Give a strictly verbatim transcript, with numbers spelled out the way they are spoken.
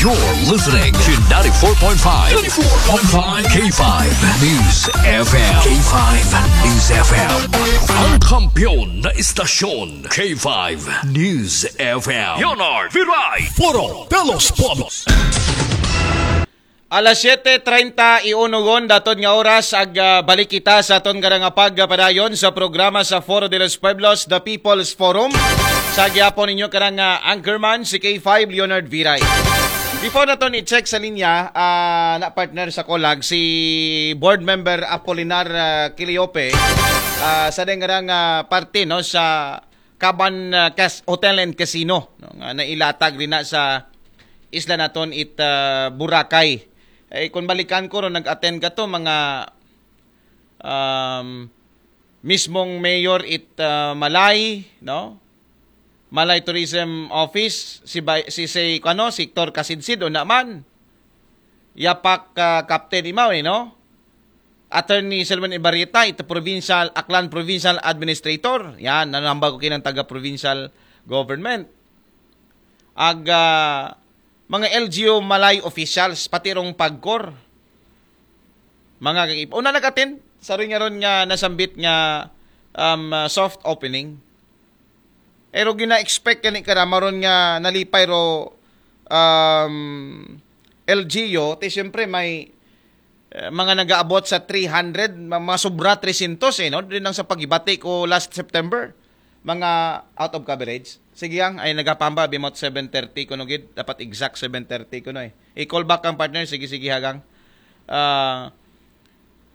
You're listening to ninety-four point five, ninety-four point five K five News F M. K five News F M. Ang kampiyon na istasyon, K five News F M. Leonard Viray. Foro de los Pueblos. Alas siete treinta y uno gon, datod nga oras, ag ah, balik kita sa aton karang pagpadayon sa programa sa Foro de los Pueblos, The People's Forum. Sa gihapon ninyo karang ah, anchorman, si K five Leonard Viray. Before naton i-check sa linya, ah, na partner sa Colag, si board member Apolinar ah, Quiliope, ah, sa deng karang ah, parte no sa Kaban ah, Cas- Hotel and Casino, no, nga nailatag rin na sa isla naton it ah, Boracay. Eh, kung balikan ko ron, nag-attend ka to, mga um, mismong mayor it ah, Malay, no? Malay Tourism Office, si, Bay- si, si, ano, si Hector Casidsid, o naman. Yapak ah, Captain Imaw, eh, no? Attorney Selwyn Ibarreta, ito provincial, Aklan Provincial Administrator. Yan, nanambag ko kinang taga-provincial government. Ag ah, mga L G U Malay officials, pati rong pagkor. Mga kakip. Una nag-attend, sa rin nga ron nga nasambit nga um, ah, soft opening. Pero gina-expect ka ni karama ron nga nalipay ro um, L G U, ti siyempre may eh, mga nagaabot sa three hundred, ma- mga sobra three hundred eh, no? Din lang sa paghibati ko last September, mga out of coverage. Sige ang, ay nagapamba, bimot seven thirty ko no gid, dapat exact seven thirty ko no eh. I-call back ang partner, sige sige hagang. Ah,